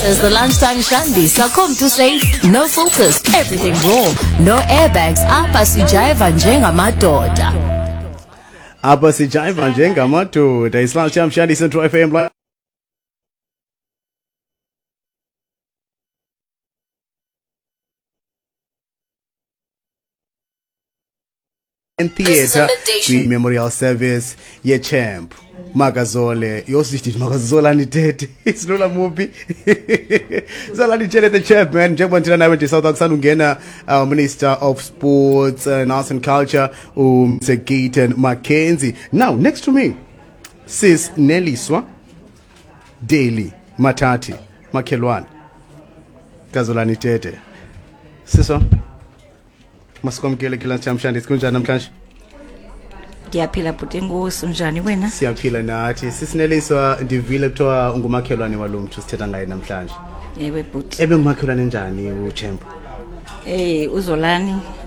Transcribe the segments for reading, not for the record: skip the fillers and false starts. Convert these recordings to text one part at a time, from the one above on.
is the Lunchtime Shandy. So come to safe, no filters, everything raw, no airbags. Apha sijayiva njengamadoda. Apha sijayiva njengamadoda. It's Lunchtime Shandy, Central FM. Theatre kwi-memorial service ye-champ Makazole. Yosithi Makazolani Tete. Isilula muphi? Zolani Tete the champ, man. Njengoba ndithetha nawe nje South Africa ungena Minister of Sports and Arts and Culture uMr Gayton McKenzie. Now next to me sis Neliswa Daily Mathathi, makhelwane kaZolani Tete. Siso, masikwamkele kula namhlanje. Kunjani namhlanje? Ndiyaphila bhuti, enkosi. Unjani wena? Siyaphila nathi. Sisineliswa, ndivile kuthiwa ungumakhelwane walo mntu sithetha ngaye namhlanje. Ewe bhuti. Ebengumakhelwane njani uchemp?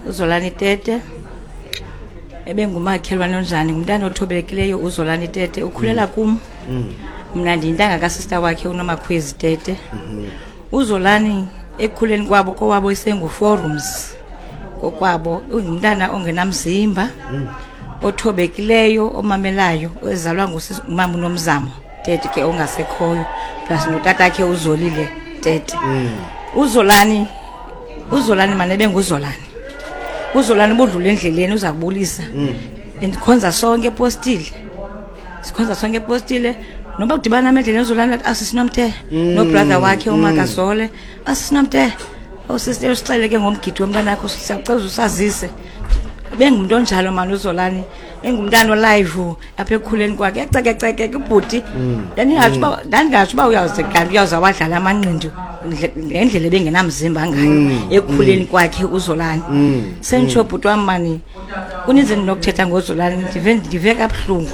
Uzolani Tete ebengumakhelwane onjani? Ngumntana othobekileyo uZolani Tete, ukhulela kum. Mna ndiyintanga kasista wakhe uNomakhwezi Tete. Uzolani ekukhuleni kwabo kowabo isengu-four rooms kokwabo, ungumntana ongenamzimba, othobekileyo, omamelayo, ezalwa ngumama uNomzamo Tete ke ongasekhoyo, plus notatakhe uZolile Tete. Uzolani mane ebenguzolani. Uzolani ubudlula endleleni uza kubulisa. Ndikhonza sonke epostile, sikhonza sonke epostile. Noba kudibana nam endleleni uzolani athi, "Asisinomte," nobrother wakhe uMakazole, "Asisinomte, osisister, usixele ke ngomgidi womntanakho, siyacela usazise." Bengumntu onjalo mani uzolani, engumntana olive apha ekukhuleni kwakhe, ecekeceke ubhuti. Ndandingatsho uba uyawuze kanti uyawuza wadlala amanqindi ngendlela ebengenamzimba ngayo ekukhuleni kwakhe uzolani. Senditsho bhuti wam mani, kuninzi endinokuthetha ngozolani, ndive kabuhlungu.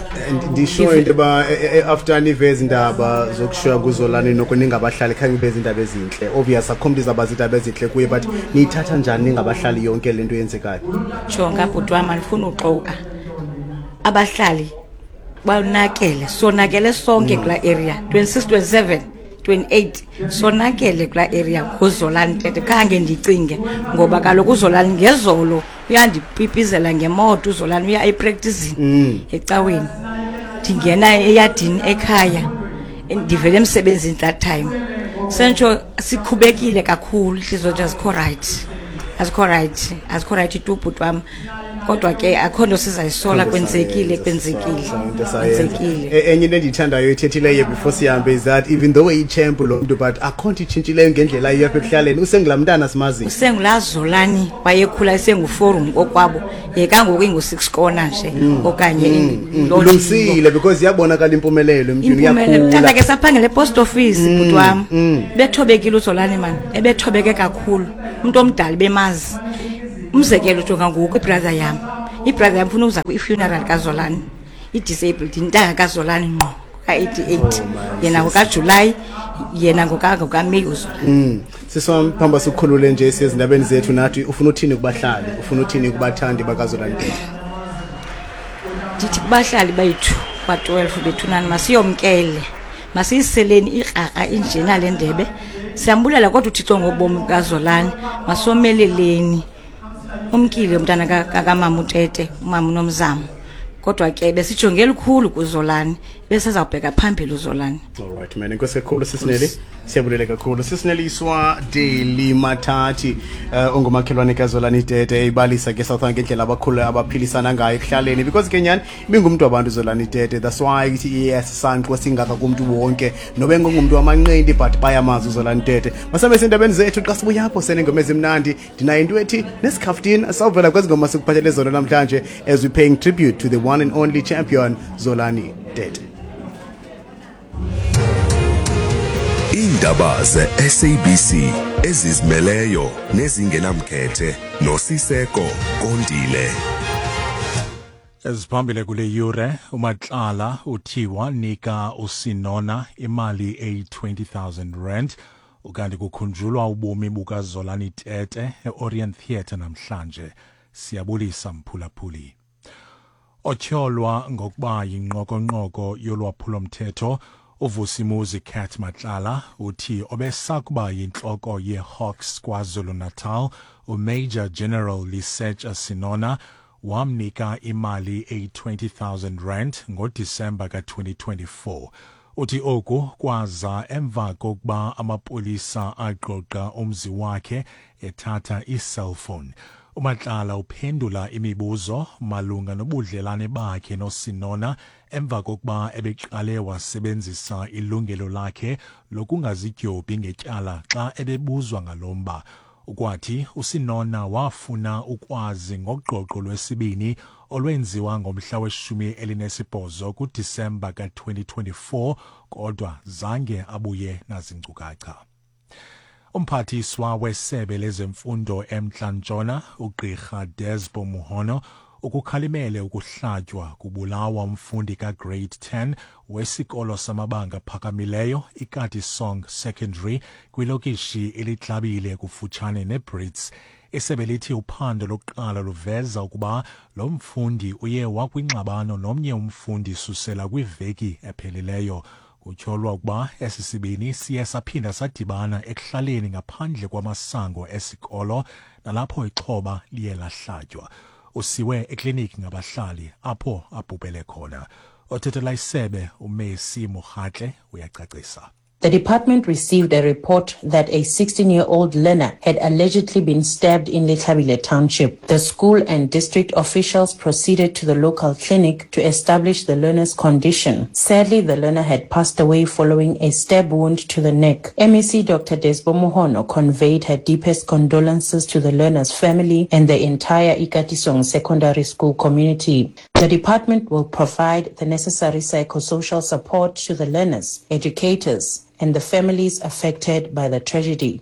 Ndisho into yoba after nive ezi ndaba zokushiywa kuzolani, noko ningabahlali khange ibe zindaba ezintle. Obvious akho mntu izawuba ziindaba ezintle kuye, but niyithatha njani ningabahlali yonke le nto yenzekayo? Jonga bhuti wam, andifuni uxoka, abahlali bonakele, sonakele sonke kulaa area 26, 27, 28, sonakele kulaa area nguzolani Tete. Khange ndicinge, ngoba kaloku uzolani ngezolo uyandipipizela ngemoto. Uzolani uya epracticini ecaweni, ndingena eyadini ekhaya, ndivele emsebenzini that time. Sentsho sikhubekile kakhulu, intliziyo zethu azikho right, azikho right, azikho right tu bhuti wam. Kodwa ke akho nto sizayisola, kwenzekile, kwenzekile, kwenzekile. Enye into endiyithandayo ethethileyo before sihambe is that even though eyichamp lo mntu, but akho nto itshintshileyo ngendlela ayiyo apha ekuhlaleni, usengulaa mntana simaziyo. Usengulaa Zolani wayekhula esengu-four room kokwabo, yekangoku ingu-six corner nje okanye loo. Ulungisile because iyabonakala impumelelo emntwini. Impumelelo. Uyakhula. Tata ke saphangela epost office bhuti wam. Bethobekile uzolani mani, ebethobeke kakhulu, umntu omdala bemazi. Umzekelo, jonga ngoku ibrother yam funa uza kwi-funeral kazolani, i-disabled, intanga kazolani ngqo ka-88. Oh, man, Yena ngokaJulayi, yena ngokaMeyi uzolani. Siswam, phamba sikhulule nje siyezindabeni zethu nathi. Ufuna uthini kubahlali, ufuna uthini kubathandi bakazolani Tete? Ndithi kubahlali bethu kwa-12 bethunani, masiyomkele, masiyiseleni ikrakra injena le ndebe. Siyambulela kodwa uThixo ngobomi bukazolani. Masomeleleni, umkile umntana kamama uTete, umama uNomzamo, kodwa ke besijonge elikhulu kuzolani, besezawubheka phambili uzolani. Alright man, enkosi kakhulu sisineli, siyabulela kakhulu. Sisineliswa Daily Mathathi, ongumakhelwane kaZolani Tete, ibalisa ke South ngendlela abakhulu abaphilisana ngayo ekuhlaleni, because ke nyani ibingumntu wabantu uZolani Tete. That's why ithi iyesisanqo singaka kumntu wonke nobe ngumntu wamanqindi, but bayamazi uZolani Tete. Masambe sendabeni zethu, xa sibuya apho senengoma ezimnandi, ndinayo into ethi nesikhaftin sawuvela kwezi ngoma sikuphathele zona namhlanje as we paying tribute to the one and only champion Zolani Tete. Iindaba ze-SABC ezizimeleyo nezingenamkhethe noSiseko Kondile. Eziphambili kule yure: uMatlala uthiwa nika uSenona imali eyi-20,000 rand, ukanti kukhunjulwa ubomi bukaZolani Tete e-Orient Theatre namhlanje. Siyabulisa mphulaphuli. Otyholwa ngokuba yinqokonqoko yolwaphulomthetho. Uvusimuzi Cat Matlala uthi obesakuba yintloko yeHawks KwaZulu-Natal uMajor General Lesetja Senona wamnika imali eyi-20,000 rand ngoDisemba ka-2024. Uthi oku kwaza emva kokuba amapolisa agqogqa umzi wakhe ethatha iiselfowuni. UMatlala uphendula imibuzo malunga nobudlelane bakhe noSenona emva kokuba ebeqale wasebenzisa ilungelo lakhe lokungazidyobhi ngetyala xa ebebuzwa ngalo mba. Ukwathi uSenona wafuna ukwazi ngogqogqo lwesibini olwenziwa ngomhla we-18 kuDisemba ka-2024, kodwa zange abuye nazinkcukacha. Umphathiswa wesebe lezemfundo eMntla Ntshona, uGqirha Desbo Mohono, ukukhalimele ukuhlatywa kubulawa umfundi kaGrade 10 wesikolo samabanga aphakamileyo iKatisong Secondary kwilokishi iLitlabile kufutshane neBrits. Isebe lithi uphando lokuqala luveza ukuba lo mfundi uye wakwingxabano nomnye umfundi susela kwiveki ephelileyo. Kutyholwa ukuba esi sibini siye saphinda sadibana ekuhlaleni ngaphandle kwamasango esikolo, nalapho ixhoba liye lahlatywa. Usiwe ekliniki ngabahlali apho abhubhele khona. Othethela isebe uMessi Mokgatle uyacacisa. The department received a report that a 16-year-old learner had allegedly been stabbed in Letlhabile Township. The school and district officials proceeded to the local clinic to establish the learner's condition. Sadly, the learner had passed away following a stab wound to the neck. MEC Dr. Desbo Mohono conveyed her deepest condolences to the learner's family and the entire Ikatisong Secondary School community. The department will provide the necessary psychosocial support to the learners, educators, and the families affected by the tragedy.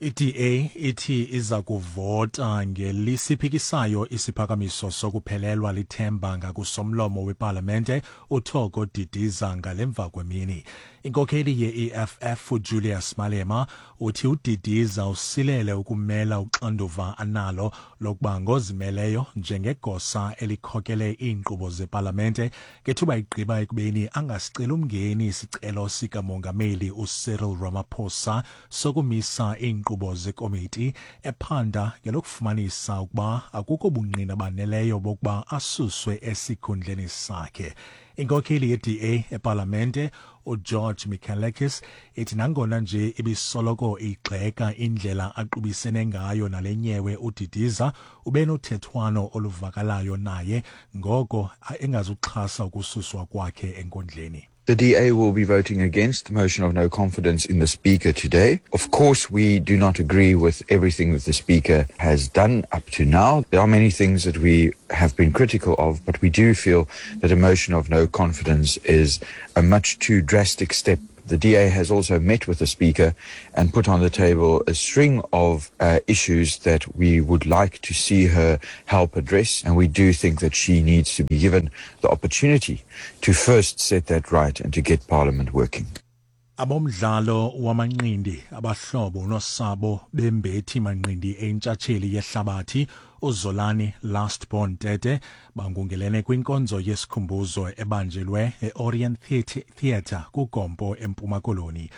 I-DA ithi iza kuvota ngelisiphikisayo isiphakamiso sokuphelelwa lithemba ngakusomlomo wepalamente uThoko Didiza ngalemva kwemini. Inkokheli ye-EFF uJulius Malema uthi uDidiza usilele ukumela uxanduva analo lokuba ngozimeleyo njengegosa elikhokele iinkqubo zepalamente ngethuba igqiba ekubeni angasiceli umngeni isicelo sikamongameli uCyril Ramaphosa sokumisa iinkqubo zekomiti ephanda ngelokufumanisa ukuba akukho bungqina baneleyo bokuba asuswe esikhundleni sakhe. Inkokheli ye-DA epalamente uGeorge Michalakis ithi nangona nje ibisoloko igxeka indlela aqubisene ngayo nale nyewe, uDidiza ube nothethwano oluvakalayo naye, ngoko engazuxhasa ukususwa kwakhe enkundleni. The DA will be voting against the motion of no confidence in the Speaker today. Of course, we do not agree with everything that the Speaker has done up to now. There are many things that we have been critical of, but we do feel that a motion of no confidence is a much too drastic step. The DA has also met with the Speaker and put on the table a string of issues that we would like to see her help address. And we do think that she needs to be given the opportunity to first set that right and to get Parliament working. Abomdlalo wamanqindi, abahlobo nosabo bembethi manqindi entshatsheli yehlabathi uZolani Last Born Tete bangungelene kwinkonzo yesikhumbuzo ebanjelwe eOrient Theatre kuGompo eMpuma Koloni.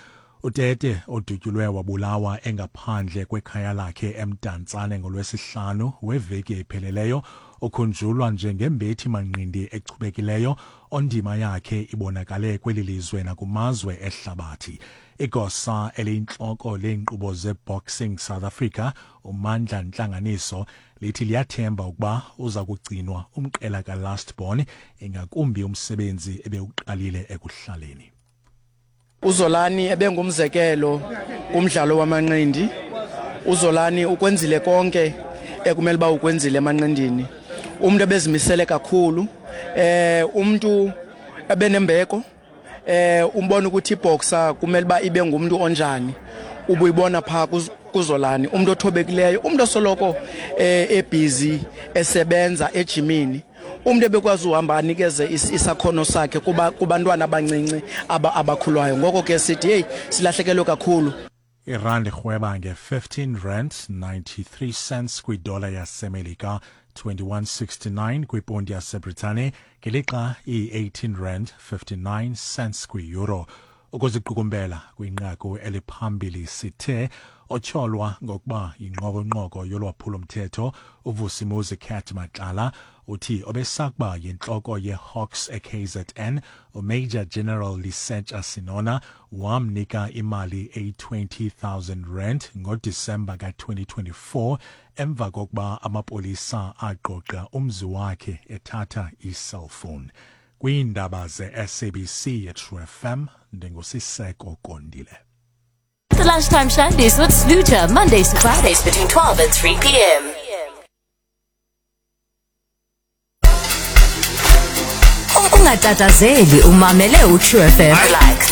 UTete, odutyulwe wabulawa engaphandle kwekhaya lakhe eMdantsane ngolwesihlanu weveki epheleleyo, ukhunjulwa njengembethi manqindi echubekileyo ondima yakhe ibonakale kweli lizwe nakumazwe ehlabathi. Igosa eliyintloko leenkqubo zeBoxing South Africa uMandla Ntlanganiso lithi liyathemba ukuba uza kugcinwa umqela kaLast Born, ingakumbi umsebenzi ebewuqalile ekuhlaleni. UZolani ebengumzekelo kumdlalo wamanqindi. UZolani ukwenzile konke ekumele uba ukwenzile emanqindini. Umuntu ebezimisele kakhulu, umuntu ebenembeko, umbona ukuthi iboxer kumele uba ibe ngumuntu onjani. Ubuyibona phaa kuZolani, umuntu othobekileyo, umuntu osoloko ebusy esebenza ejimini, umuntu ebekwazi uhamba anikeze isakhono sakhe kuba kubantwana abancinci abakhulwayo. Ngoko ke sithi hey, silahlekelwe kakhulu. Irandi irhweba nge-15 rand 93 cents kwidola yaseMelika, 21.69 kwiponti yaseBritane, ngelixa iyi-18 rand 59 cents kwi-euro. Ukuziqukumbela kwinqaku eliphambili sithe otyholwa ngokuba yinqokonqoko yolwaphulo-mthetho uVusimuzi Cat Matlala uthi obesakuba yintloko ye-Hawks e-KZN uMajor General Lesetja Senona wamnika imali eyi-20,000 rand ngoDisemba ka-2024 emva kokuba amapolisa agqogqa umzi wakhe ethatha i-cellphone. Kwiindaba ze-SABC yeTrue FM ndinguSiseko Kondile. The Lunchtime Shandies with Sluter, Mondays to Fridays between 12 and 3 p.m. Ungatatazeli umamele uTrue FM. Like